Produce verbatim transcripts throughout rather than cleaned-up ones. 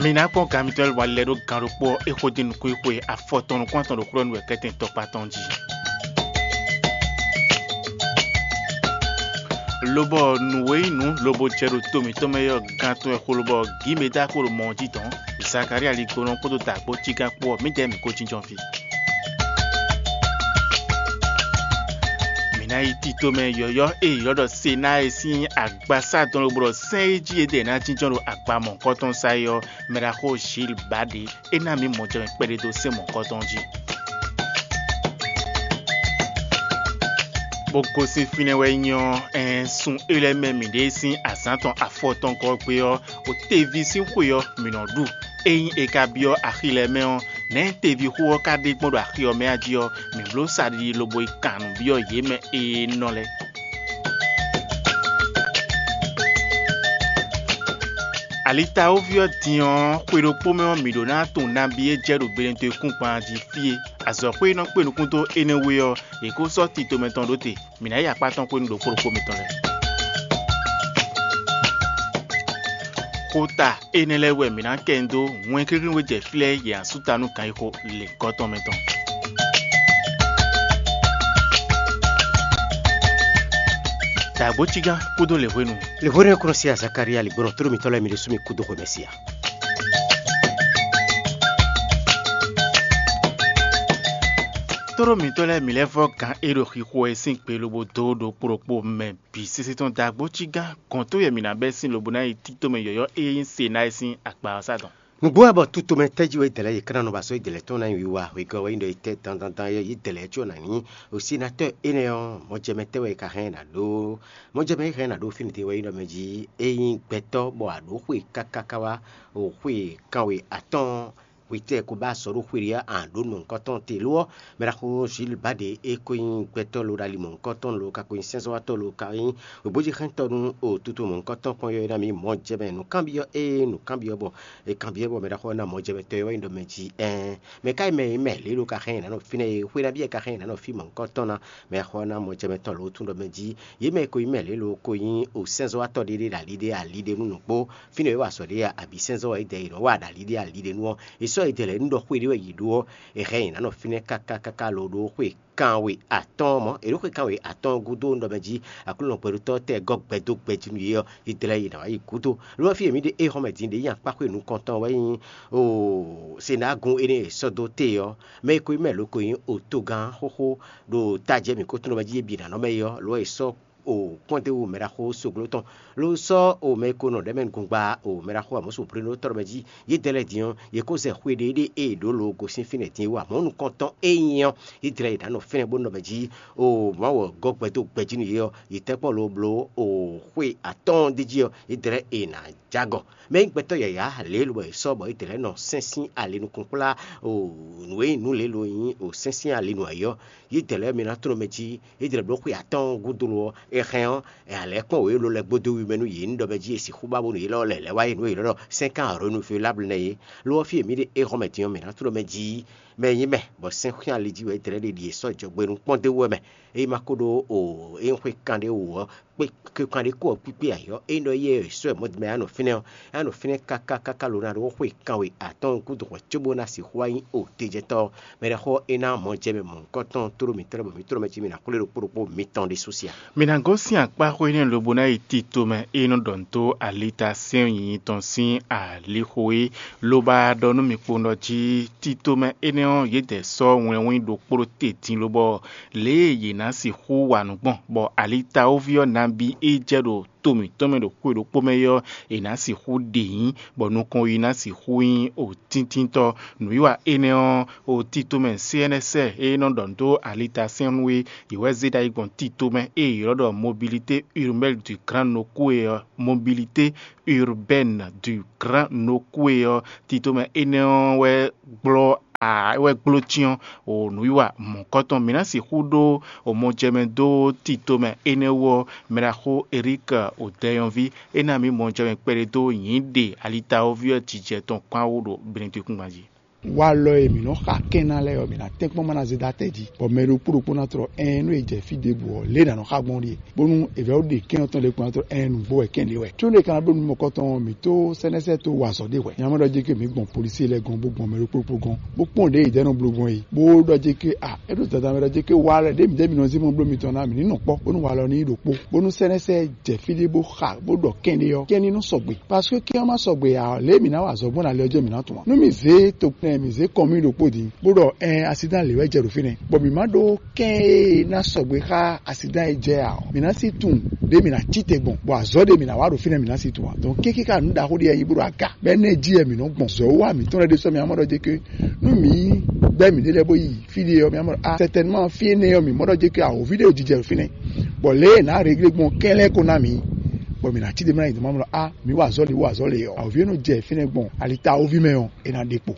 Mi ná kpɔ́n gan mitɔn lɛ́ɛ lobɔ lɛ́ ɖó gan ɖokpó ɔ́, é xo dín nukúnxwé afɔtɔn nukún-atɔn ɖo xwlɔ́nú wɛ kɛ́tɛn tɔkpá tɔn jí. Lobɔ nǔ e nyí nǔ lobo jɛ ɖo to mǐtɔn mɛ ɔ́, gan tɔn wɛ xo lobɔ gǐ mɛ dó axo ɖo mɔ ɔ́ jí dɔn. Zakalía ligbonɔ kpódó dǎgbó cígán kpó ɔ́, mǐdɛɛ mǐ ko jínjɔ́n fí. Mǐ ná yi tito mɛ yɔ̌yɔ́ e è ylɔ́ ɖɔ Senáa é sín agbasá dɔn lobo ɖɔ sɛ́n e jí è ɖe ná jínjɔ́n ɖo agba mɔ̌hunkɔtɔn sá é ɔ́, mɛ ɖaxó Zíli ba ɖě; é ná mǐ mɔjɛmɛ kpɛɖé dó sɛ́n mɔ̌hunkɔtɔn jí. Bó gosín fínɛ́ wɛ nyí ɔ́, ɛɛn, sun é lɛ́ɛ mɛ mǐɖée sín azǎn tɔn afɔtɔngɔ́ gbe ɔ́, ɖo teví sín xwe ɔ́, mǐ nɔ ɖu. Ényí è ka byɔ́ axi lɛ́ɛ mɛ ɔ́, nɛ̌ tevixú ɔ́ ka ɖe gbɔn ɖo axi ɔ́ mɛ a jí ɔ́, mǐ bló saɖiɖi lobo yi kan nǔ byɔ́ yě mɛ e nɔ lɛ́ɛ. Alitawóví ɔ́ din ɔ́, xwe ɖokpó mɛ ɔ́, mǐ ɖó ná tunwun nabí e jɛ ɖo Benetɔ́-kún-gban jí fí é. Azɔ̌xwé e nɔ kpé nukún dó énɛ́ wú é ɔ́, yě ko sɔ́ tito mɛtɔn ɖó te. Mǐ ná yi akpá tɔn xwenu ɖokpó ɖokpó mitɔn lɛ́ɛ. Xota énɛ́ lɛ́ɛ wɛ mǐ ná kɛ nyi dó wɛnkéklín e jɛ fí lɛ́ɛ yě ná sú ta nú ganxixo lěgɔ́ tɔn mɛ tɔn. Dǎgbócígán kpódó lěhwenu. Lěhwenu e kplɔ́n sí Azakalía ligbɔnɔ tlóló mitɔn lɛ́ɛ mi ɖésú mi kú dó xwe mɛ sí a? Tlóló mitɔ́ lɛ́ɛ mi lɛ́ vɔ́ gǎn e ɖo xixo wɛ sín gbe lobo dó ɖokpó ɖokpó mɛ bǐ sésé tɔn dó agbócígán gɔ̌n tó yɛ mǐ ná bɛ́ sín lobo ná yi tító mɛ yɔ̌yɔ́ e nyí Senáa é sín akpa ɔ́ sá dɔn. Nǔgbó wɛ bɔ tutomɛ tɛ́ jí wɛ dɛ̌lɛ́ yě ká ná nɔ ba sɔ́ yě dɛ̌lɛ́ tɔn ná nyi wiwa wegɔ́ wɛ nyí ɖɔ yě tɛ́ dandandan yɛ yě dɛ̌lɛ́ có ná nyí osinatɔ́ énɛ́ ɔ́, mɔjɛmɛ tɛ́ wɛ è ka hɛn ná ɖó? Mɔjɛmɛ e hɛn ná ɖó fínɛ́ din wɛ nyí ɖɔ mɛ jí é nyí gbɛtɔ́ bɔ a ɖǒ xwe káká ká wá o xwe kanwe atɔ́ɔ́n hwetɛ́ ko ba sɔ́ ɖó xwe ɖé a ɖǒ nǔ nukɔntɔn te lo ɔ́, mɛ ɖaxó Zilbade e ko nyí gbɛtɔ́ lo ɖo ali mɔ̌hunkɔtɔn lo ka ko nyí sɛ́nzɔ́watɔ́ lo ka nyí wěbójixɛ́ntɔ́ nú o tutu mɔ̌hunkɔtɔn kpɔ́n yɔ́ é ná mǐ mɔjɛmɛ nǔkanbyɔ́ ée nǔkanbyɔ́ bɔ è kanbyɔ́ bɔ mɛ ɖaxó ɔ́ ná mɔjɛmɛtɔ́ e wá nyí ɖɔ mɛ jí ɛɛn mɛ ka nyí mɛ e mɛ lě ɖo ka xɛn nǎ nɔ fínɛ́ e xwé ná byɔ́ ka xɛn nǎ nɔ fí mɔ̌hunkɔtɔn ná mɛ xɔ ná mɔjɛmɛtɔn lo tún ɖɔ mɛ jí yě mɛ e ko nyí mɛ lě lo ko nyí o sɛ́nzɔ́watɔ́ ɖé ɖé ɖo ali ɖé ali ɖé nú nǔkpó fínɛ́ e wa azɔ̌ ɖé a abǐ sɛ́nzɔ́ wɛ é dɛ yě nɔ wa ɖo ali ɖé ali ɖé nú ɔ́, è sɔ́ yě dɛ lɛ̌ nú ɖɔ xwé ɖé wɛ yě ɖó ɔ́, è hɛn yě ná nɔ fínɛ́ káká káká lo ɖó xwe kanwe atɔ́ɔ́n mɔ̌. È ɖǒ xwe kanwe atɔ́ɔ́n gúdo un ɖɔ mɛ jí Aklúnɔgbɛɖótɔ́ tɛ́ gɔ́ gbɛ dó gbɛ jí nú yě ɔ́, yě dlɛ́ yě ná wá yi gúdo. Lo ɔ́, fí e mǐ ɖe éhɔ́mɛ din ɖě nyi akpáxwé nukɔntɔn wɛ nyí o Senágun énɛ́ e è sɔ́ dó te ɔ́, mɛ e ko nyí mɛ lǒ ko nyí otogán xóxó ɖo tajɛ mǐ ko tunwun ɖɔ mɛ jí yě bǐ ná nɔ mɛ é ɔ́, lo ɔ́, è sɔ́ o kpɔ́ndéwú mɛɖaxó sogló tɔn, ló sɔ́ o mɛ e ko nɔ ɖɛ̌ mɛ nukɔn gba o mɛɖaxó amɔ̌súblínú tɔ́ ɖɔ mɛ jí yě dɛ lɛ́ɛ din ɔ́, yě kó zɛ xwe ɖé ɖé e è ɖǒ lo gosín fínɛ́ din é wú amɔ̌ nukɔntɔn e nyí ɔ́, yě dlɛ́ yě ná nɔ fínɛ́ bó nɔ mɛ jí o Mawu ɔ́ gɔ́ gbɛ dó gbɛ jí nú yě ɔ́, yě tɛ́ kpɔ́n lo bló o xwe atɔ́ɔ́n d'é jí ɔ́, yě dlɛ́ è nǎ jágɔ. Mɛ e nyí gbɛtɔ́ yǎyá lě e lobɔ è sɔ́ bɔ yě dlɛ́ nɔ sɛ́n sín ali nukɔn kplá o nǔ e nyí nǔ lě lo nyí o sɛ́n sín ali nú ayǐ ɔ́, yě dlɛ́ mi ná tló mɛ jí yě dlɛ́ bló xwe atɔ́ɔ́n gúdo lo ɔ́, è hɛn ɔ́, è alɛ̌ kpɔ́n wěwé lɛ́ɛ gbódó wi mɛ nú yě ní ɖɔ mɛ jí è sixú ba bónú yě lɛ́ lɛ̌ wá yi nǔ e yě ɖɔ sɛ́n kan renouvelable nɛ́ é. Lo ɔ́, fí e mǐ ɖe éhɔ́mɛ din ɔ́, mǐ ná tló mɛ jí mɛ e nyí mɛ, bɔ sɛ́n xyán ali jí wɛ é dlɛ́ ɖe ɖi è sɔ́ jɔgbe nú kpɔ́ndéwú wɛ mɛ. Ényí ma ko ɖó o é nyí xwe kanɖé wú ɔ́, kpé kpé kanɖé kó ɔ́ kpíkpé ayǐ ɔ́, ényí ɖɔ éyɛ́ è sɔ́ ɛ mɔ̌ mɛ anɔ fínɛ́ ɔ́, é nɔ fínɛ́ káká káká lo ná ɖó xwe kanwe atɔ́ɔ́n gúdo hwɛ̌ cóbó ná sixú wá nyí o tejɛtɔ́ ɔ́, mɛ ɖaxó ɔ́ é ná mɔ jɛ mɛ mɔ̌hunkɔtɔn tló mǐtɔn lɛ́ɛ bɔ mǐ tló mɛ jí mǐ ná xwlé ɖokpó ɖokpó mitɔn ɖésú sí a? Mǐ ná gosín akpá xó énɛ́ lobo ná yi tito mɛ e nɔ ɖɔ nǔ dó alita sɛ́n nyinyi tɔn sín alixo é, lobo ɖɔ nú mǐ kpowun ɖɔ jí tito mɛ énɛ́ ɔ́, yědɛɛ sɔ́ wlɛnwín ɖokpó ɖó te din lobɔ lě e yě ná sixú wa nǔ gbɔn, bɔ alitawoví ɔ́ nabí e jɛ ɖo to mǐtɔn mɛ ɖo xwe ɖokpó mɛ é ɔ́, è nǎ sixú ɖe nyǐ, bɔ nukɔn yi ná sixú nyí o tíntíntɔ́. Nǔwiwa énɛ́ ɔ́, o tito mɛ C N S e nɔ ɖɔ nǔ dó alita sɛ́n nú é, yě wɛ zé ɖ'ayǐ gbɔn tito mɛ e è ylɔ́ ɖɔ mobilité urbaine du Grand Nokoué ɔ́, mobilité urbaine du Grand Nokoué ɔ́, tito mɛ énɛ́ ɔ́ wɛ gblɔ́ a wɛ gbló cyɔ́n o nǔwiwa mɔ̌kɔtɔn. Mǐ ná sixú ɖó o mɔjɛmɛ dó tito mɛ énɛ́ wú ɔ́, mɛɖaxó Erík o dɛyɔnví é ná mǐ mɔjɛmɛ kpɛɖé dó nyǐ ɖe alitawoví ɔ́ jijɛ tɔn kpán wú ɖo Benedikúngban jí. Walɔ e mǐ nɔ xa kɛn ná lɛ́ɛ ɔ́, mǐ ná tɛ́nkpɔ́n má ná zé dó atɛ jí, bɔ mɛ ɖokpó ɖokpó ná tlɔ ɛn nú e jɛ fí ɖěbǔ ɔ́, lě e nǎ nɔ xa gbɔn ɖíe, bónú è vɛ́ ɖe kɛn ɔ́ tɔn ɖé kpɔ́n ná tlɔ ɛn nǔgbó wɛ kɛn ɖé wɛ. Có nú è ka ná bló nǔ mɔ̌kɔtɔn ɔ́, mǐ tó sɛ́nɛ́sɛ́ tó wa azɔ̌ ɖé hwɛ̌. Nya mɛ ɖɔ jé ké mǐ gbɔn polisí lɛ́ɛ gɔ́n bó gbɔn mɛ ɖokpó ɖokpó gɔ́n, bó kpɔ́n ɖěe yě ɖɔ nɔ bló gbɔn é, bó ɖɔ jé ké a é ɖo dada mɛ ɖɔ jé ké wa lɛ́ɛ ɖěe mǐ ɖěe mǐ nɔ zé mɔ bló mitɔn ná mǐ ní nɔ kpɔ́, bónú walɔ ní yi ɖokpó, bónú sɛ́nɛ́sɛ́ jɛ fí ɖé bó xa bó ɖɔ kɛn ɖé ɔ́, kɛn ní nɔ sɔgbe. Parce que kɛn ɔ́ má sɔgbe ǎ ɔ́, lě e mǐ ná wa azɔ̌ gbɔn ɖo ali ɔ́ jí ɔ́, mǐ ná tunwun ǎ. Nú mǐ zě tokpɛn mǐ zé kɔn mì ɖokpó din, bó ɖɔ ɛn asidán lě wɛ jɛ ɖo fínɛ́, bɔ mǐ má ɖó kɛn e ná sɔgbe xá asidán e jɛ ǎ ɔ́, mǐ ná sí tunwun ɖě mǐ ná cí te gbɔn, bɔ azɔ̌ ɖé mǐ ná wa ɖo fínɛ́ mǐ ná sí tunwun ǎ. Donc kéké ká nǔ ɖaxó ɖé wɛ nyí bó ɖo aga, bɔ énɛ́ jí wɛ mǐ nɔ gbɔn. Zɔ̌ wá mǐtɔn lɛ́ɛ ɖésú mǐ ná mɔ ɖɔ jé ké nú mǐ bɛ́ mǐɖée lɛ́ɛ bó yi fí ɖé ɔ́, mǐ ná mɔ ɖɔ a certainement fí énɛ́ ɔ́ mǐ mɔ ɖɔ jé ké awǒvi ɖé jijɛ ɖo fínɛ́, bɔ lě e è nǎ réglé gbɔn kɛ́n lɛ́ɛ ko ná mǐ, bɔ mǐ ná cí ɖe mɛ ná yi dɔ̌n mɔ ɖɔ a mǐ wa azɔ̌ lě wa azɔ̌ lě ɔ́, awǒvi e nɔ jɛ fínɛ́ gbɔn alitawoví mɛ ɔ́, é ná ɖe kpo.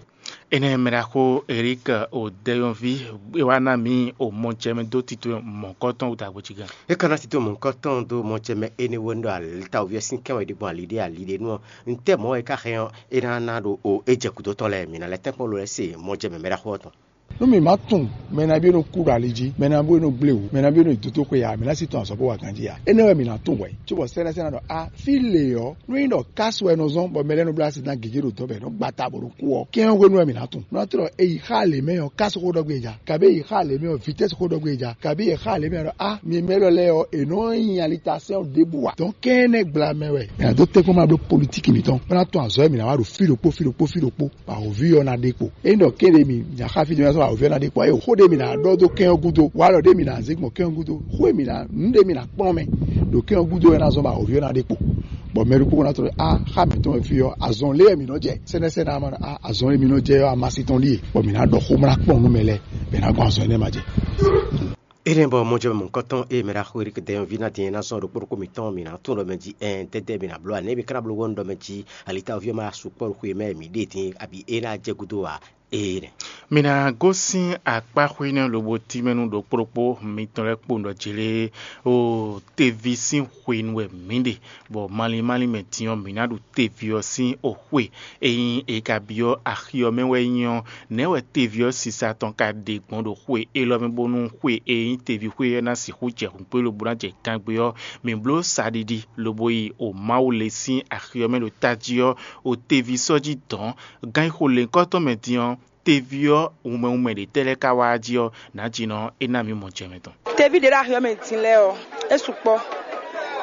Énɛ́ mɛ ɖaxó Erik Odɛyɔnví é wá ná mǐ o mɔjɛmɛ dó tito mɔ̌kɔtɔn wú dagbo cí gán. É ka ná tito mɔ̌kɔtɔn dó mɔjɛmɛ énɛ́ wɛ ɖɔ alitawoví ɔ́ sín kɛ́n wɛ ɖe gbɔn ali ɖé ali ɖé nú ɔ́, ntɛ́ mɔ̌ wɛ é ka hɛn ɔ́, é ná ná ɖo o é jɛ gǔdo tɔn lɛ́ɛ mǐ ná lɛ́ tɛ́nkpɔ́n lo lɛ́ɛ se mɔjɛmɛ mɛ ɖaxó ɔ́ tɔn. Nú mǐ má tunwun mɛ nabí e nɔ kú ɖo ali jí, mɛ nabí e nɔ gblé wǔ, mɛ nabí e nɔ yi dotóxwe ǎ, mǐ ná sí tɔn azɔ̌ bó wa ganjí ǎ. Énɛ́ wɛ mǐ ná tunwun hwɛ̌, cóbɔ sɛ́nɛ́sɛ́nɛ́ ɖɔ a fí lě ɔ́, nú nyí ɖɔ kásu wɛ è nɔ zɔ́n bɔ mɛ lɛ́ɛ nɔ bló asidán gěgé ɖo dɔ̌ bɔ è nɔ gba ta bó nɔ kú ɔ́, kɛ́n ɔ́ hwenu wɛ mǐ ná tunwun. Nú ná tlɔ è yi xá lě mɛ ɔ́, kásu xó ɖɔ gbé ja, kabí è yi xá lě mɛ ɔ́, vitɛ́si xó ɖɔ gbé ja, kabí è xá lě mɛ ɔ́ ɖɔ a mi mɛ élɔ́ lɛ́ɛ ɔ́, è nɔ nyi alitasɛ́n ɔ́ ɖěbǔ ǎ. Dɔ̌n kɛ́n énɛ́ gbla mɛ wɛ è nǎ dó tɛ́nkpɔ́n ma bló politíki mǐtɔn, bó ná tunwun azɔ̌ e mǐ ná wa ɖo fí ɖokpó fí ɖokpó fí ɖokpó. Awǒvi ɔ́ ná ɖe kpo. Ényí ɖɔ kéɖé mi nya xá fí jɛ́n sɔ́ awǒvi ɔ́ ná ɖe kpo, ée xó ɖé mi ná ɖɔ dó kɛ́n ɔ́ gúdo, wá ɖɔ ɖé mi ná zé gbɔn kɛ́n ɔ́ gúdo, xó e mi ná nǔ ɖé mi ná kplɔ́n mɛ ɖo kɛ́n ɔ́ gúdo wɛ ná zɔ́n bɔ awǒvi ɔ́ ná ɖe kpo. Bɔ mɛ ɖokpó ná tlɔ́ ɖɔ a xá mǐtɔn wɛ fí ɔ́, azɔn lé wɛ mǐ nɔ jɛ, sɛ́nɛ́sɛ́nɛ́ ɔ́ má ɖɔ a azɔn e mi nɔ jɛ ɔ́, amasi tɔn ɖíe, bɔ mǐ ná ɖɔ xó, bó ná kplɔ́n nú mɛ lɛ́ɛ, bɔ è nǎ gbɔn azɔn énɛ́ ma jɛ. Énɛ́ bɔ mɔjɛmɛ mɔ̌hunkɔtɔn e mɛ ɖaxó Erik Dɛnyɔ́ví ná din e ná zɔ́n ɖokpó ɖokpó mǐtɔn mǐ ná tunwun ɖɔ mɛ jí ɛn tɛ́tɛ́ mǐ ná bló ǎ, nɛ̌ mǐ ka ná bló wɔ̌nu ɖɔ mɛ jí alitawúví ɔ́ ma sukpɔ́ ɖo xwe mɛ mǐ ɖe din, abǐ é ná jɛ gúdo ǎ? Énɛ́. Mi ná gosín akpá xwé nɛ́ lobo tínmɛ nú ɖokpó ɖokpó mitɔn lɛ́ɛ kpowun ɖɔ jlé o teví sín xwenu wɛ mǐ ɖe, bɔ malín malín mɛ din ɔ́, mǐ ná ɖu teví ɔ́ sín oxwé. Ényí è ka byɔ́ axi ɔ́ mɛ wɛ nyí ɔ́, nɛ̌ wɛ teví ɔ́ sisa tɔn ka ɖe gbɔn ɖo xwe élɔ́ mɛ bónú xwe e nyí teví xwe ɔ́ ná sixú jɛ hǔnkpé lobo ná jɛ gangbé ɔ́, mǐ bló saɖiɖi lobo yi o Mawu lě sín axi ɔ́ mɛ ɖo tají ɔ́, o teví sɔ́ jí dɔ̌n. Gan e xo lěhunkɔtɔn mɛ din ɔ́, teví ɔ́ wunmɛ wunmɛ ɖě tɛ́ lɛ́ɛ ka wá jí ɔ́, nǎjínɔ é ná mǐ mɔ jɛ mɛ tɔn. Teví ɖě ɖo axi ɔ́ mɛ din lɛ́ɛ ɔ́, é sukpɔ́.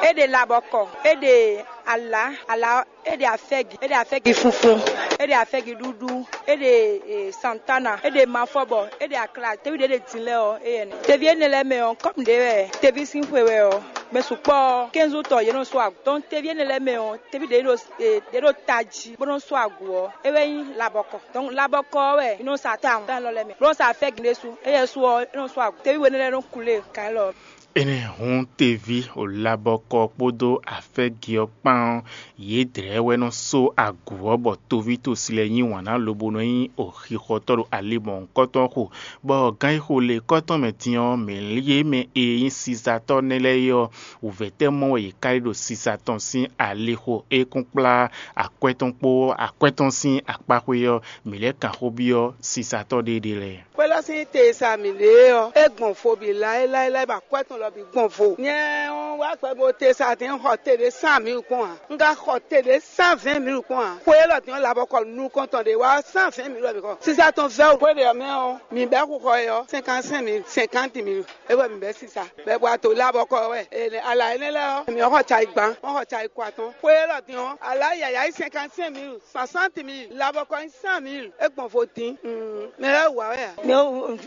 É ɖe labɔkɔ, é ɖe alǎ, alǎ, é ɖe afɛ́gi, é ɖe afɛ́gi funfun, é ɖe afɛ́gi ɖúɖú, é ɖe e, santana, é ɖe mafɔbɔ, é ɖe akla. Teví ɖě ɖe din lɛ́ɛ ɔ́, éyɛ́ nɛ́. Teví énɛ́ lɛ́ɛ mɛ ɔ́, kɔ́mu ɖě wɛ teví sín xwe wɛ ɔ́, mɛ sukpɔ́ ɔ́, kɛ́nzú tɔn yě nɔ sú agu. Donc teví énɛ́ lɛ́ɛ mɛ ɔ́, teví ɖě ɖo e, ɖě ɖo tají bó nɔ́ sú agu ɔ́, é wɛ nyí labɔkɔ. Donc labɔkɔ ɔ́ wɛ è nɔ sa tawun tán élɔ́ lɛ́ɛ mɛ, bó nɔ́ sa afɛ́gi ɖésú. Éyɛ́ su ɔ́, é nɔ sú agu. Teví we énɛ́ lɛ́ɛ nɔ kulé kan élɔ́. Énɛ́ hǔn teví o labɔkɔ kpódó afɛ́gi ɔ́ kpán ɔ́, yědɛɛ wɛ nɔ só agu ɔ́ bɔ toví tosi lɛ́ɛ yí wǎn ná lobo nɔ nyí o xixɔtɔ́ ɖo ali mɔ̌hunkɔtɔn xo, bɔ gán e xo le kɔ́tɔn mɛ din ɔ́, mǐ lí yě mɛ e nyí sisatɔ́ nɛ́ lɛ́ɛ é ɔ́, wǔvɛ́ tɛ́ mɔ wɛ yě ká yi ɖo sisa tɔn sín alixo e kún kplá akwɛ́ tɔn kpó akwɛ́ tɔn sín akpáxwé ɔ́, mǐ lɛ́ kan xó byɔ́ sisatɔ́ ɖéeɖée lɛ́ɛ. Xwé lɔ sín te e sa mǐ ɖe é ɔ́, é gbɔn fo bǐ láéláé bɔ akwɛ́ tɔn lɔ bǐ gbɔn vo. Nyɛ ɔ́ wá gbɛ bo te sa dín xɔ te ɖé cent mille kpɔ́n ǎ. Un ka xɔ te ɖé cent vingt mille kpɔ́n ǎ. Xwé élɔ́ din ɔ́, labɔkɔ nukɔntɔn ɖé wá cent vingt mille wɛ mǐ xɔ. Sisa tɔn vɛ́ o. Xwé ɖě ɔ́ mɛ ɔ́, mǐ bɛ́ xixɔ é ɔ́, cinquante-cinq mille, cinquante mille. É wɛ mǐ bɛ́ sisa. Bɛ́ bɔ ato labɔkɔ wɛ. Ene ala énɛ́ lɛ́ɛ ɔ́, mǐ xɔ cayi gban, wọ́n xɔ cayi kɔ atɔn. Xwé élɔ́ din ɔ́, ala yǎyá yi cinquante-cinq mille, soixante mille, labɔkɔ yi cent mille. É gbɔn vo dín. Mm, mɛ lɛ́ɛ wǎ wɛ a? Mɛ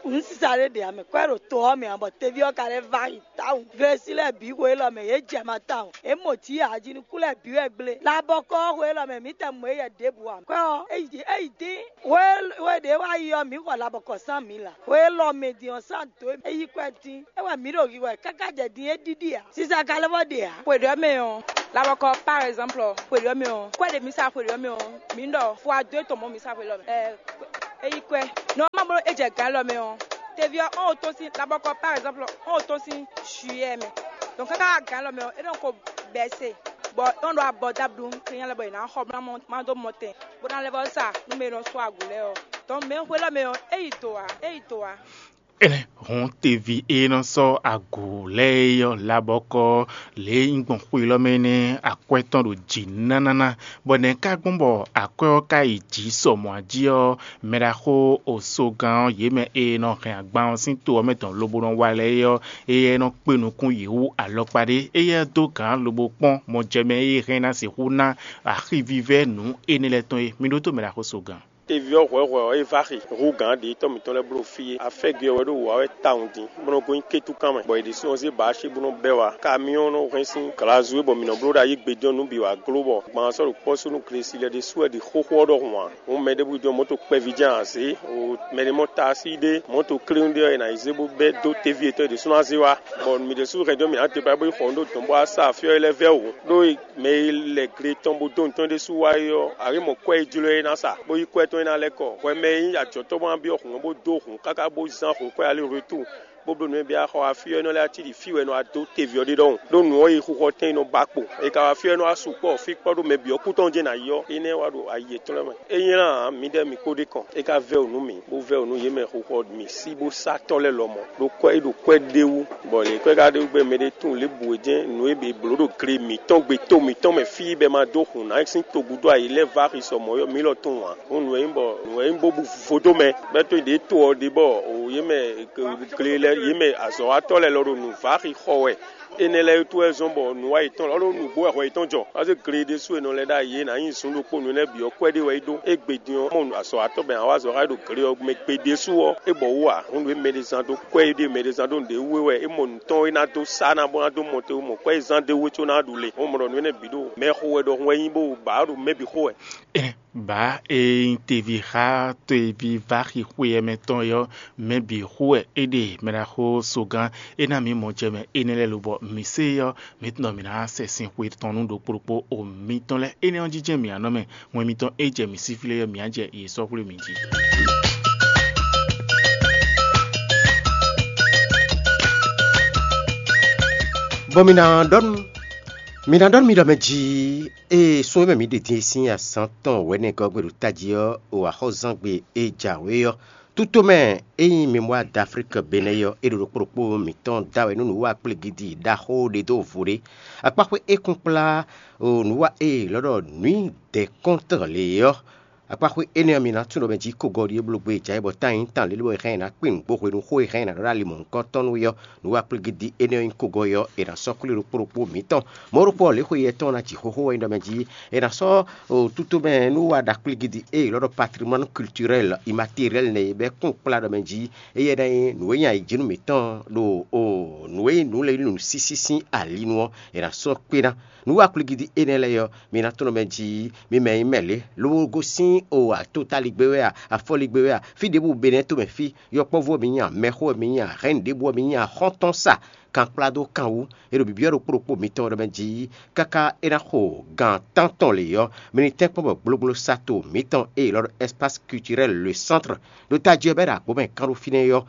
un sisa ɖé ɖe ame kɔ ɖo to ɔ́ mɛ ǎ, bɔ teví ɔ́ ka lɛ́ va yi tawun. Glesi lɛ́ɛ bǐ xwe élɔ́ mɛ yě jɛ ma tawun. É mɔ jǐ ajinuku lɛ́ɛ bǐ wɛ gblé. Labɔkɔ ɔ́ xwe élɔ́ mɛ mǐ tɛ mɔ éyɛ ɖěbǔ ǎ. Kɔ ɔ́, é yi é yi dín. Xwe xwe ɖě wá yi ɔ́, mǐ xɔ labɔkɔ cent mille ǎ. Xwe élɔ́ mɛ din ɔ́, cent deux é yi kɔ ɛ dín. É wɛ mǐ ɖo hihwɛ káká jɛ din é ɖiɖi ǎ. Sisa ka lɛ́ vɔ ɖe ǎ. Xwe ɖɔ mɛ ɔ́, labɔkɔ par exemple, xwe ɖɔ mɛ ɔ́, kɔ ɖe mǐ sa xwe ɖɔ mɛ ɔ́, mǐ ɖɔ fwa dó tɔn mɔ mǐ sa xwe lɔ mɛ. Ɛ, é yi kɔ ɛ. Nɔ ma bló é jɛ gǎn lɔ mɛ ɔ́, teví ɔ́, ɔn o tɔn sín labɔkɔ par exemple, ɔn o tɔn sín juillet mɛ. Donc káká gǎn lɔ mɛ ɔ́, é nɔ ko bɛ́ se. Bɔ é nɔ ɖo abɔ dablu kɛnyɛ lɛ bɔ è nǎ xɔ bó ná mɔ má dó mɔ tɛn, bó ná lɛ́ vɔ sa nú mɛ e nɔ sú agu lɛ́ɛ ɔ́. Tɔn mɛ xwé lɔ mɛ ɔ́, é yi do ǎ, é yi do ǎ. Énɛ́ hɔn teví e nɔ sɔ́ agǔ lɛ́ɛ é ɔ́ labɔkɔ lě e nyí gbɔn xwé lɔ mɛ nɛ́ akwɛ́ tɔn ɖo jǐ nánáná, bɔ nɛ̌ ka gbɔn bɔ akwɛ́ ɔ́ ka yi jǐ sɔ mɔ̌ jí ɔ́, mɛɖaxó osogán ɔ́ yě mɛ e nɔ hɛn agban ɔ́ sín to ɔ́ mɛ tɔn lobo nɔ wa lɛ́ɛ é ɔ́, éyɛ́ nɔ kpé nukún yě wú alɔkpa ɖé. Éyɛ́ dó gǎn lobo kpɔ́n mɔjɛmɛ e hɛn ná sixú ná axivívɛ́ nǔ énɛ́ lɛ́ɛ tɔn é. Mi ɖótó mɛɖaxó sogán. Teví ɔ́ hwɛ̌hwɛ̌ ɔ́, é vá xi hú gǎn ɖě tɔ́ mǐtɔn lɛ́ɛ bló fí é. Afɛ́gɛ ɔ́ wɛ ɖó wǔ wa wɛ tawun din, bó nɔ́ gosín kétúkan mɛ, bɔ è ɖésú ɔ́ zé bǎ cí bó nɔ́ bɛ́ wá. Kamyɔ́ɔn nɔ hɛn sín glazu e bɔ mǐ nɔ bló ɖo ayǐ gbe din ɔ́ nǔ bǐ wá gló, bɔ gbǎn ɔ́ sɔ́ ɖo kpɔ́ sú nú glesi lɛ́ɛ ɖésú wɛ ɖi xóxó ɔ́ ɖɔhun ǎ. Hǔn mɛɖěbǔ jɛ́n mɔ̌ to kpɛví jɛ́n ǎ zě, o mɛɖé mɔ taasí ɖé, mɔ̌ to klínu ɖé ɔ́, è nǎ yi zé bó bɛ́ dó teví yětɔn e ɖésú ná zé wá, bɔ mǐ ɖésú hɛn dó mǐ ná te bá bó yi xɔ nǔ ɖo dɔ̌n bó wá sa afyɔ́ é lɛ́ɛ vɛ́ wǔ. Ɖó mɛ e lɛ gle tɔn bó dó nǔ tɔn ɖésú wá é ɔ́, a nǎ mɔ kwɛ́ e jló é ná sa, bó yí kwɛ́ tɔn é ná lɛ́ kɔ. Hwɛ mɛ e nyí ajɔ̌tɔ́ bó ná byɔ́ hǔn ɔ́ bó dó hǔn káká bó zán hǔn kwɛ́ alí retour, bó bló nǔ e byɔ́ xɔ wá fí ɔ́, é nɔ lɛ́ cí ɖi fí wɛ è nɔ wá dó teví ɔ́ ɖe ɖɔhun. Ɖó nǔ ɔ́ yi xixɔ tɛn e nɔ ba kpo, è ka wá fí ɔ́ é nɔ wá su kpɔ́ fí kpɔ́ ɖó mɛ bǐ ɔ́ kú tɔn jɛ́n ná yi ɔ́, énɛ́ wá ɖo ayi yětɔn lɛ́ɛ mɛ. É nylá ǎ, mǐdɛɛ mǐ kpó ɖe kɔn, é ka vɛ́ wǔ nú mǐ, bó vɛ́ wǔ nú yě mɛ xixɔ mǐ sí bó sá tɔ́ lɛ́ɛ lɔmɔ̌, ɖó kwɛ́ é ɖo kwɛ́ ɖé wú, bɔ lě kwɛ́ ka ɖe wú gbɛ́ mɛɖé tunwun lě bǔ é jɛ́n nǔ e è blǒ ɖo gle mǐtɔn gbe to mǐtɔn mɛ fí bɔ è ma dó hun nǎ sín togúdo ayǐ lɛ́ɛ vá xi sɔ mɔ̌ ɔ́, mǐ lɔ tunwun ǎ. Hǔn nǔ e nyí bɔ nǔ e nyí bó bú vodó mɛ, bɛ́ tó ɖě to ɔ́ ɖe bɔ yě mɛ gle lɛ́ɛ yě mɛ azɔ̌watɔ́ lɛ́ɛ lɔ ɖo nǔ vá xi xɔ wɛ. Énɛ́ lɛ́ɛ wútu wɛ zɔ́n bɔ nǔwa yětɔn lɔ ɖó nǔgbó wɛ hwɛ yětɔn jɔ. Ɔ́ zé gle ɖésú e nɔ lɛ́ ɖ'ayǐ é nǎ nyi zun ɖokpó nǔ énɛ́ bǐ ɔ́ kwɛ́ ɖé wɛ é ɖó. É gbe din ɔ́, mɔ azɔ̌watɔ́ bɛn awǎ azɔ̌ xá é ɖo gle ɔ́ mɛ gbe ɖésú ɔ́, é bɔ wú ǎ. Hǔn nǔ e mɛɖé zán dó kwɛ́ é ɖe mɛɖé zán dó nǔɖé wú é wɛ é mɔ nǔ tɔn é ná dó sá ná bó ná dó mɔ te wú mɔ kwɛ́ é zán d'é wú é có ná ɖu le. Hǔn mɔ ɖɔ nǔ énɛ́ bǐ ɖo mɛ xo wɛ ɖɔhun wɛ nyí bó bǎ ɖo mɛ bǐ xo wɛ. Bǎ e nyí teví xá teví vaxixwe ɛ mɛ tɔn é ɔ́, mɛ bǐ xo wɛ é ɖe mɛɖaxó sogán. É ná mǐ mɔ jɛ mɛ énɛ́ lɛ́ɛ lobɔ mǐ se é ɔ́, mǐ tunɔ mǐ ná sɛ sin xwe tɔn nú ɖokpó ɖokpó o mǐtɔn lɛ́ɛ. Énɛ́ ɔ́ jínjɛ́n mǐ ná nɔ mɛ, wɛn mitɔn e jɛ mǐ sí flé ɔ́, mǐ á jɛ yě sɔ́ xwlé mǐ jí. Bɔ mǐ ná ɖɔ nú mǐ ná ɖɔ nú mi ɖɔ mɛ jí, ée sún e mɛ mǐ ɖe din e sín azǎn tɔn wɛ̌nɛgɔ́ gbe ɖo tají ɔ́, o axɔ́zán gbe e jǎwe ɔ́, tutomɛ e nyí Mémoire d'Afrique Bénin ɔ́, é ɖo ɖokpó ɖokpó mǐtɔn da wɛ nú nǔwiwa kplégídi ɖaxó ɖé dó vo ɖé. Akpáxwé é kún kplá nǔwiwa e è lɔ́ ɖɔ nǔi dɛ̌nkɔ́ntɔn lě ɔ́, akpáxwé énɛ́ ɔ́, mi ná tunwun ɖɔ mɛ jí kogɔ́ ɖíe bló gbe jǎwe bɔ tán nyí tán lélé bɔ è hɛn ɛ ná kpé nǔgbó hwenu xó e hɛn ɛ ná ɖɔ ɖó ali mɔ̌hunkɔtɔn nú é ɔ́, nǔwiwa kplégídi énɛ́ ɔ́ nyí kogɔ́ ɔ́, è nǎ sɔ́ kwlí ɖokpó ɖokpó mǐtɔn. Mɔ̌ ɖokpó ɔ́, lě xwe yɛ tɔn ná ji xóxó wɛ nyí ɖɔ mɛ jí è nǎ sɔ́ tutomɛ nú wa ɖa kplígídi e è lɔ́ ɖɔ patrimoine culturel immatériel nɛ́ e bɛ́ kún kplá ɖɔ mɛ jí éyɛ́ ná nyí nǔ e nyí ayǐjínú mǐtɔn ɖo nǔ e nyí nǔ lɛ́ɛ nǔ sísí sín ali nu ɔ́, è nǎ sɔ́ kpé ná. Nǔ wa kwlígídi énɛ́ lɛ́ɛ ɔ́, mi ná tunwun mɛ jí mi mɛ nyí mɛ lě, lobo gosín o atotaligbé wɛ a, afɔligbé wɛ a, fí ɖěbǔ Benɛ́ tomɛ fí, yɔkpɔ́vú ɔ́ mi nyí a, mɛxó ɔ́ mi nyí a, hɛ̌nnu ɖěbǔ ɔ́ mi nyí a, xɔ́ntɔn sa, kankplá dó kan wú. È ɖo bǐbyɔ́ ɖokpó ɖokpó mitɔn ɖɔ mɛ jí káká é ná xo gan tántɔn lě ɔ́, mi ní tɛ́nkpɔ́n bɔ gblógbló sato mǐtɔn e è lɔ ɖɔ Espace Culturel Le Centre ɖo tají ɔ́ bɔ é ɖo agbǒ mɛ kán ɖó fínɛ́ é ɔ́,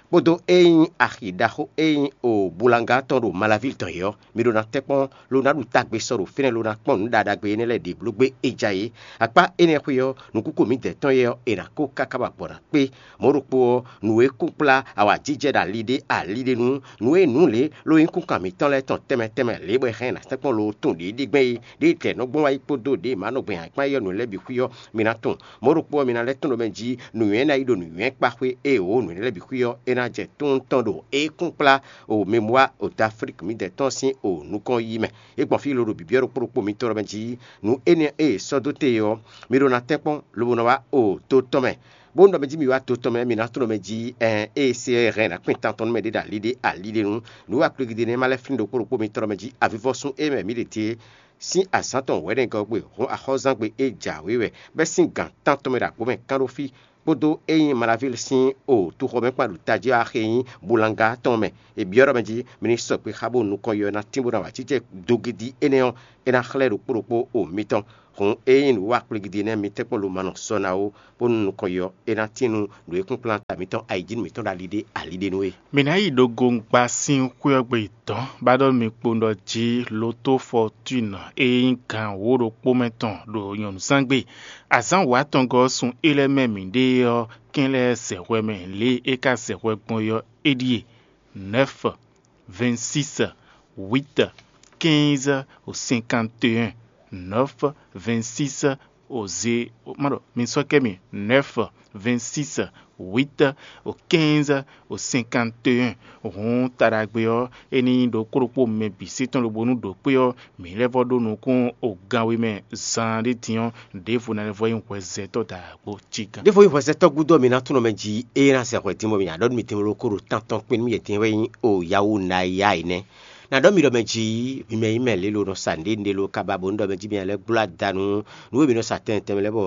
kpódó e nyí axi ɖaxó e nyí o Bulanga tɔn ɖo Malavil tɔn é ɔ́, mi ɖó ná tɛ́nkpɔ́n ló ná ɖu tagbe sɔ ɖo fínɛ́ ló ná kpɔ́n nǔ ɖaɖagbe énɛ́ lɛ́ɛ ɖě bló gbé é ja é. Akpá énɛ́ xwé ɔ́, nǔkúkú mǐdɛɛ tɔn é ɔ́, è nǎ kó káká ba gbɔ ná kpé. Mɔ̌ ɖokpó ɔ́, nǔ e kún kplá awǎjijɛ ɖo ali ɖé ali ɖé nu, nǔ e nǔ lě ló nyí kúnkan mǐtɔn lɛ́ɛ tɔn tɛnmɛ tɛnmɛ lě bɔ è hɛn ɛ ná tɛ́nkpɔ́n loo tun ɖě ɖi gbɛn é, ɖěe tɛ̌ nɔ gbɔn wá yi kpódó ɖěe mǎ nɔ gbɛn ayǐkpan é ɔ́, nǔ lɛ́ɛ bǐ xwí ɔ́, mi ná tunwun. Mɔ̌ ɖokpó ɔ́, mi ná lɛ́ tunwun ɖɔ mɛ jí nǔnywɛ́ ná yi ɖo nǔnywɛ́kpa xwé, ée wǒ nǔ énɛ́ lɛ́ɛ bǐ xwí ɔ́, é ná jɛ tóntɔn ɖo é kún kplá o Mémoire d'Afrique mǐdɛɛ tɔn sín o nukɔn yiyi mɛ. É gbɔn fí loɖo bǐbyɔ́ ɖokpó ɖokpó mitɔn ɖɔ mɛ jí nǔ énɛ́ e è sɔ́ dó te ɔ́, mi ɖó ná tɛ́nkpɔ́n lobo nɔ wá o to tɔn mɛ. Bónú ɖɔ mɛ jí mi wá to tɔn mɛ, mi ná tunwun ɖɔ mɛ jí ɛn ée se ɔ́ hɛn ná kpin tantɔn nú mɛ ɖé ɖo ali ɖé ali ɖé nu. Nǔ wa kplégídé nɛ́ ma lɛ́ flín ɖokpó ɖokpó mitɔn ɖɔ mɛ jí avivɔ́sún e mɛ mǐ ɖe din é sín azǎn tɔn wɛ̌nɛgɔ́ gbe hɔn axɔ́zán gbe é jǎwe wɛ, bɛ́ sín gǎn tántɔn mɛ ɖo agbǒ mɛ kán ɖó fí, kpódó e nyí Malavil sín o toxɔmɛkpan ɖo tají ɔ́ axi e nyí Bulanga tɔn mɛ. È byɔ́ ɖɔ mɛ jí mi ní sɔgbe xá bónú nukɔn yɔ ná tín bó ná wa cícɛ dogidi énɛ́ ɔ́, é ná xlɛ́ ɖokpó ɖokpó o mitɔn. Hǔn ényí nǔ wa kplígídí nɛ́ mitɛ́ kpɔ́n lomanɔ sɔ ná ó, bónú nukɔn yi ɔ́, é ná tín nú nǔ e kplɔ́nkplɔ́n ta mǐtɔn ayǐjínú mǐtɔn ɖo ali ɖé ali ɖé nú é. Mǐ ná yi ɖo gongba sín xwé ɔ́ gbe dɔ̌n, bá ɖɔ mi kpowun ɖɔ jí Lotó Fɔtúnɔ e nyí gan wǒ ɖokpó mɛ tɔn ɖo nyɔ̌nuzángbe. Azǎn wǒ atɔngɔ́ ɔ́ sun é lɛ́ɛ mɛ mǐɖée ɔ́, kɛ́n lɛ́ɛ zɛ hwɛ mɛ lě e é ka zɛ hwɛ gbɔn é ɔ́, é ɖíe: nɛ̌f, vɛ̌nsísɛ, wǐtɛ, kɛ́nzɛ́, sinkanteyɛ́n, nɛ̌f, vɛ̌nsísɛ, o ze ma ɖɔ mi sɔ́ kɛ mi: nɛ̌f, vɛ̌nsísɛ, wǐtɛ, o kɛ́nzɛ́, o sinkanteyɛ́n. Hǔn taɖagbe ɔ́, é ní nyí ɖokpó ɖokpó mɛ bǐ sí tɔn lobo nú ɖǒkpé ɔ́, mǐ lɛ́ vɔ́ ɖó nukún o gan we mɛ zaan ɖé din ɔ́, ɖěvo ná lɛ́ vɔ́ nyí hwɛzɛtɔ́ dǎgbó cí gán. Ɖěvo nyí hwɛzɛtɔ́ gúdo ɔ́, mi ná tún nɔ mɛ jí, ée ná sɛ hwɛ dín bɔ mi nya ɖɔ nú mi tɛnmɛ ɖokpó ɖo tántɔn kpé nú mi yɛtɛn wɛ nyí o Yawunáya énɛ́. Ná ɖɔ mi ɖɔ mɛ jí, mi mɛ nyí mɛ lě lo nɔ sa nǔɖé nǔɖé lo kaba bó nú ɖɔ mɛ jí mi lɛ́ gbló ada nú nǔ e mi nɔ sa tɛnmɛ tɛnmɛ lɛ́ɛ bɔ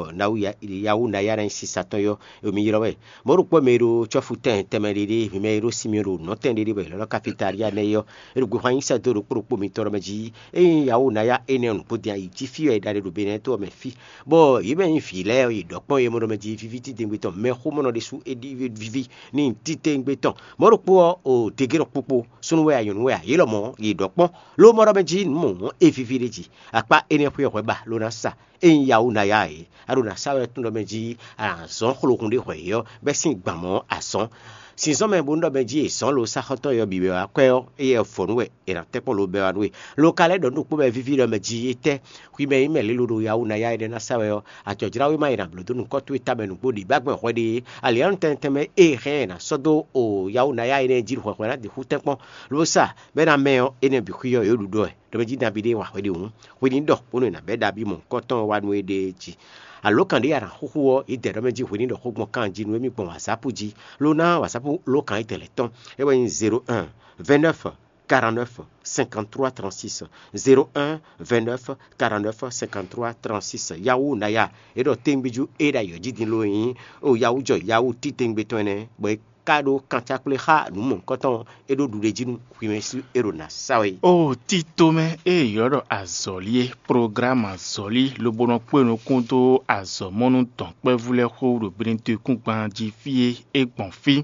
Yawunáya ná nyí sisa tɔn yɔ, mi ylɔ́ wɛ. Mɔ̌ ɖokpó mɛ e ɖo cɔ́fu tɛnmɛ tɛnmɛ ɖé ɖé, mi mɛ e ɖo sinmi ɖo nɔ̌ tɛn ɖé ɖé bɔ è lɔ̌ ɖɔ kafitalía nɛ́ é ɔ́, é ɖo gbexwá nyi sɛ́ dó ɖokpó ɖokpó mitɔn ɖɔ mɛ jí. Ényí Yawunáya énɛ́ ɔ́ nǔgbó din ayi jí fí wɛ è ɖa ɖe ɖo Benɛ́ɛ to ɔ́ mɛ fí, bɔ yě mɛ nyí vǐ lɛ́ɛ ɔ́, yě ɖɔ kpɔ́n yě mɔ ɖɔ mɛ jí víví titewungbe tɔn, mɛxómɔnɔ ɖésú é ɖi víví n'i titewungbe tɔn. Mɔ̌ ɖokpó ɔ́, o degé ɖɔ kpokpo, súnnu wɛ a, nyɔ̌nu wɛ a, yě lɔmɔ̌ yě ɖɔ kpɔ́n, ló mɔ ɖɔ mɛ jí nǔ mɔ̌ é víví ɖé jí. Akpá énɛ́ xwé ɔ́ hwɛ ba ló ná sa. Ényí Yawunáya é, a ɖo nǎ sa wɛ tún ɖɔ mɛ jí a nǎ zɔ́n xlohun ɖé hwɛ yě ɔ́, bɛ́ sín gban mɔ̌ azɔn. Sinzɔ́n mɛ bó nú ɖɔ mɛ jí è zɔ́n lo sáxɔ́tɔ́ yɔ bǐ wɛ wá kwɛ́ ɔ́, éyɛ́ vɔ̌ nú wɛ è nǎ tɛ́ kpɔ́n lo bɛ́ wá nú we. Lo ka lɛ́ ɖɔ nú ɖokpó mɛ víví ɖɔ mɛ jí étɛ́, hwi mɛ nyí mɛ lě lo ɖo Yawunáya énɛ́ ná sa wɛ ɔ́, acɔ̌jláwéma e è nǎ bló dó nukɔn towe tamɛ nǔgbó ɖě bá gbɛn hwɛ ɖe é, alǐanú tɛnmɛ tɛnmɛ e è hɛn ɛ è nǎ sɔ́ dó o Yawunáya énɛ́ jí ɖo hwɛhwɛ ná ɖi xú tɛ́nkpɔ́n, ló sa bɔ é ná mɛ ɔ́, énɛ́ bǐ xwí ɔ́, yě ɖu ɖɔ wɛ. Ɖɔ mɛ jí nabí ɖé wa hwɛ ɖe hǔn, hwi ní ɖɔ bónú è nǎ bɛ́ ɖaví mɔ̌hunkɔtɔn ɔ́ wá nú éɖée jí. Alǒkan ɖé a nǎ xúxú ɔ́, yě dɛ ɖɔ mɛ jí hwi ní ɖɔ xó gbɔn kan jí nú émí gbɔn wǎzápú jí, lo ná wǎzápú lǒkan yi tɛn lɛ́ tɔn, é wɛ nyí zéro un, vingt-neuf, quarante-neuf, cinquante-trois, trente-six, zéro un, vingt-neuf, quarante-neuf, cinquante-trois, trente-six. Yawunáya é ɖɔ téngbíjú é ɖo ayǐ ɔ́ jí din ló nyí o Yawu jɔ Yawu títewungbe tɔn ɛnɛ, bɔ é ka ɖó kancákplé xá nǔ mɔ̌hunkɔtɔn ɔ́, é ɖó ɖuɖéjí nú hwimɛsú é ɖo nǎ sa wɛ é. O tito mɛ e è ylɔ́ ɖɔ azɔ̌li é, ploglámu azɔ̌li, lobo nɔ kpé nukún dó azɔ̌mɔnú dɔ̌nkpɛvú lɛ́ɛ xó ɖo Benedikúngban jí fí e é gbɔn fí,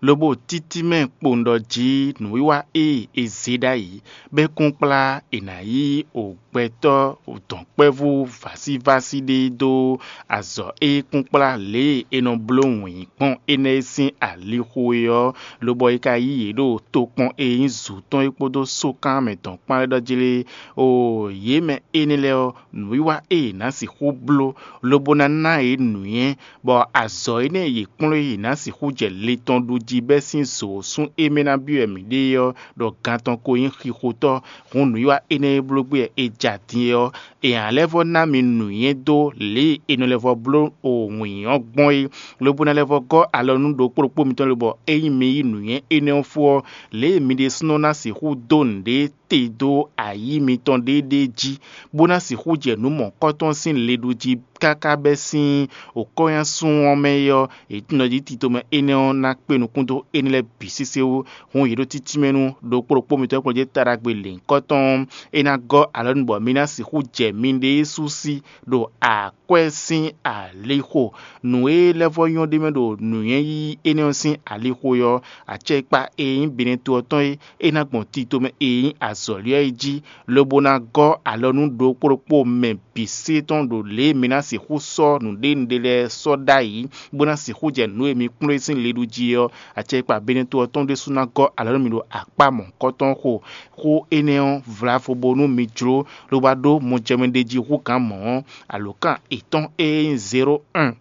lobo títí mɛ kpowun ɖɔ jí nǔwiwa e è zě ɖ'ayǐ, bɔ é kún kplá è nǎ yí o gbɛtɔ́ dɔ̌nkpɛvú vásívásí ɖé dó azɔ̌ e kún kplá lě e è nɔ bló wǐn gbɔn énɛ́ e sín alixo é ɔ́, lobɔ é ka yí yě ɖo tokpɔn e nyí zǔ tɔn é kpódó sókan mɛ dɔ̌nkpán lɛ́ɛ ɖɔ jí lé. Oo, yě mɛ énɛ́ lɛ́ɛ ɔ́, nǔwiwa e yě ná sixú bló, lobo ná ná yě nǔnywɛ́, bɔ azɔ̌ énɛ́ e yě kplɔ́n é yě ná sixú jɛ le tɔn ɖu jí bɛ́ sín zǒ sún é mɛ ná byɔ́ wɛ mǐ ɖe é ɔ́, ɖɔ gan tɔn ko nyí xixotɔ́. Hǔn nǔwiwa énɛ́ e bló gbé wɛ è ja din é ɔ́, è nǎ lɛ́ vɔ́ ná mi nǔnywɛ́ dó lě e è nɔ lɛ́ vɔ́ bló wǐn ɔ́ gbɔn é, lobo ná lɛ́ vɔ́ gɔ́ alɔ nú ɖokpó ɖokpó mitɔn lobɔ ényí mi yí nǔnywɛ́ énɛ́ ɔ́ fó ɔ́, lě e mi ɖésúnɔ ná sixú dó nǔɖé te dó ayǐ mitɔn ɖéeɖée jí, bó ná sixú jɛ nǔ mɔ̌hunkɔtɔn sín le ɖu jí káká bɛ́ sín wǒkɔ́nyásun ɔ́ mɛ é ɔ́, è tunɔ jí tito mɛ énɛ́ ɔ́ ná kpé nukún dó énɛ́ lɛ́ɛ bǐ sésé wú. Hǔn yě ɖo títí mɛ nú ɖokpó ɖokpó mitɔn e kplɔ́n jí taɖagbe lěhunkɔtɔn ɔ́, é ná gɔ́ alɔ nú bɔ mi ná sixú jɛ miɖée sú sí ɖo akwɛ́ sín alixo. Nǔ e lɛ́ vɔ́ nyɔ́ ɖ'é mɛ ɖo nǔnywɛ́ yíyí énɛ́ ɔ́ sín alixo é ɔ́, acɛkpa e nyí Benɛto ɔ́ tɔn é, é ná gbɔn tito mɛ e nyí azɔ̌li ɔ́ yi jí, lobo ná gɔ́ alɔ nú ɖokpó ɖokpó mɛ bǐ sé tɔn ɖo lě e mi ná sixú sɔ́ nǔɖénúɖé lɛ́ɛ sɔ́ ɖ'ayǐ, bó ná sixú jɛ nǔ e mi kplɔ́n é sín le ɖu jí é ɔ́, acɛkpa Benɛto ɔ́ tɔn ɖésú ná gɔ́ alɔ nú mi ɖo akpá mɔ̌hunkɔtɔn xo. Xó énɛ́ ɔ́ vlavo bónú mi jló, lobo wá ɖó mɔjɛmɛ ɖe jí hú gǎn mɔ̌ ɔ́, alǒkan yětɔn e nyí zéro un,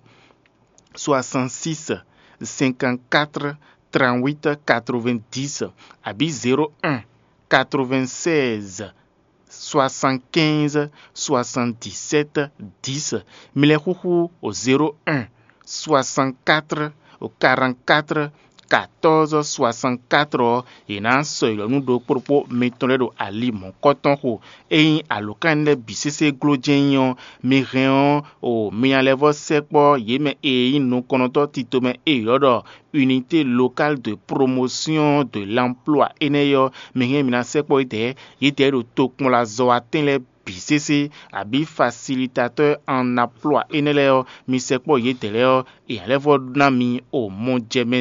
soixante-six, cinquante-quatre, trente-huit, quatre-vingt-dix, abǐ zéro un, quatre-vingt-seize, soixante-quinze, soixante-dix-sept, dix. Mi lɛ́ xúxú o zéro un, soixante-quatre, quarante-quatre, quatorze, soixante-quatre ɔ́, yě ná sɔ́ yi lɔ nú ɖokpó ɖokpó mitɔn lɛ́ɛ ɖo ali mɔ̌hunkɔtɔn xo. Ényí alǒkan énɛ́ lɛ́ɛ bǐ sésé gló jɛ́n nyí ɔ́, mi hɛn ɔ́, o mi nya lɛ́ vɔ́ sɛkpɔ́ yě mɛ e nyí nukɔntɔ́ tito mɛ e è ylɔ́ ɖɔ Unité locale de promotion de l'emploi énɛ́ é ɔ́, mi hɛn mi ná sɛkpɔ́ yědɛɛ, yědɛɛ ɖo tokpɔnlazɔ́watɛn lɛ́ɛ bǐ sésé, abǐ facilitatɔ́ an naplɔ́ énɛ́ lɛ́ɛ ɔ́, mi sɛkpɔ́ yědɛɛ lɛ́ɛ ɔ́, è nǎ lɛ́ vɔ́ ná mi o mɔjɛmɛ